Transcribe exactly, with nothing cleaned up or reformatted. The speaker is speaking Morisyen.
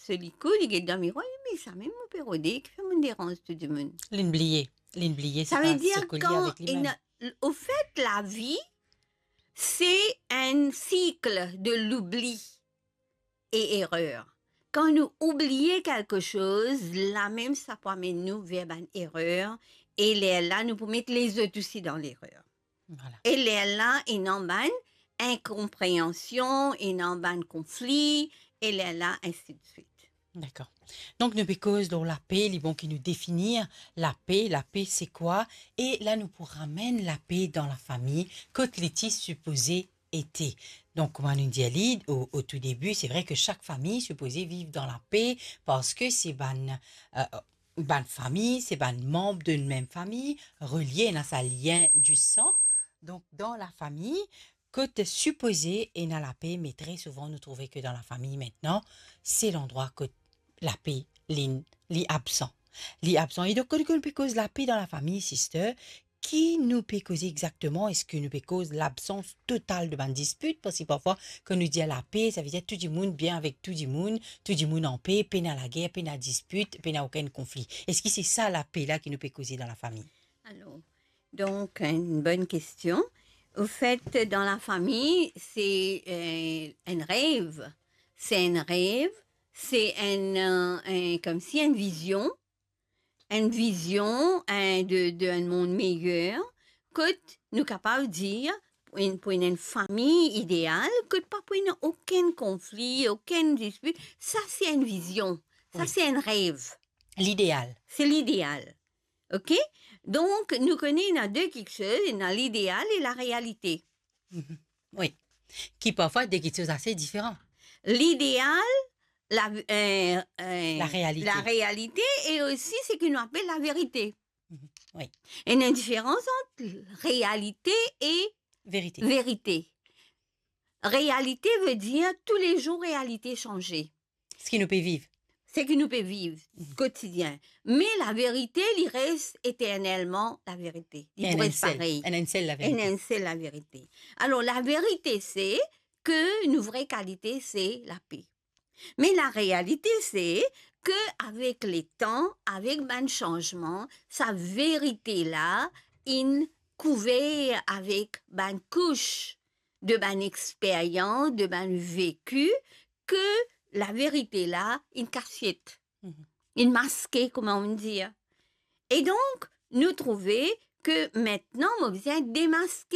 so likou, li get dan mirwar, li dir, "Me samem mo pe rode, kifer mo deranz tou dimoun?" Linn bliye, linn bliye, se pa seki li avek limem. Sa ve dir kan ena, ofet, lavi, se enn sik de loubli e erer. Kan nou oubliye kelke soz, lamem sa pou amenn nou ver bann erer, e lerla nou pou met lezot osi dan lerer. Vwala. E lerla, ena bann inkonpreansion, ena bann konfli, e lerla, ensi de swit. Dakor. Donk, nou pe koz lor lape, li bon ki nou definir lape, lape se kwa, e la nou pou ramenn lape dan lafami, kot li ti sipoze ete. Donk, kouma nou dir li o, o tou debi, se vre ke sak fami sipoze viv dan lape, parski se bann, eh, bann fami, se bann manb de mem fami, relie, ena sa lien di san. Donk, dan lafami, kot sipoze ena lape, me tre souvan nou trouve ke dan lafami, aster, se landrwa kot lape, li, li absan. Li absan. E donk, kan nou pe koz lape dan lafami, sister, ki nou pe koze exakteman? Eski nou pe koz labsans total de bann dispit? Parski parfwa, kan nou dir lape, sa ve dir tou dimoun bien avek tou dimoun, tou dimoun anpe, pena lager, pena dispit, pena okenn konfli. Eski se sa lape la ki nou pe koze dan lafami? Alor, donk, enn bon kestion. Ofet, dan lafami, se, eh, enn rev. Se enn rev, se enn, eh, enn, koumsi enn vizion, enn vizion, enn, de, de enn mond meyer, kot nou kapav dir, pou enn, pou enn fami ideal, kot pa pou ena okenn konfli, okenn dispit, sa se enn vizion, sa se enn rev. Wi. Lideal. Se lideal. Ok? Donk, nou kone ena de kiksoz, ena lideal e larealite. Mhm. Wi. Ki parfwa de kiksoz ase diferan. Lideal, la, eh, eh, larealite. Larealite e osi seki nou apel laverite. Mhm. Wi. Ena enn diferans ant realite e verite. Verite. Realite ve dir toulezour realite sanze. Seki nou pe viv. Seki nou pe viv kotidien. Me laverite, li res eternelman laverite. Li pou res parey. Enn, enn sel, enn sel laverite. Enn, enn sel laverite. Alor, laverite se ke nou vre kalite se lape. Me larealite se ke avek letan, avek bann sanzman, sa verite la inn kouver avek bann kous de bann experyans, de bann veki, ke laverite la inn kasiet, inn maske, kouma nou dir. E donk, nou trouve ke aster mo bizin demaske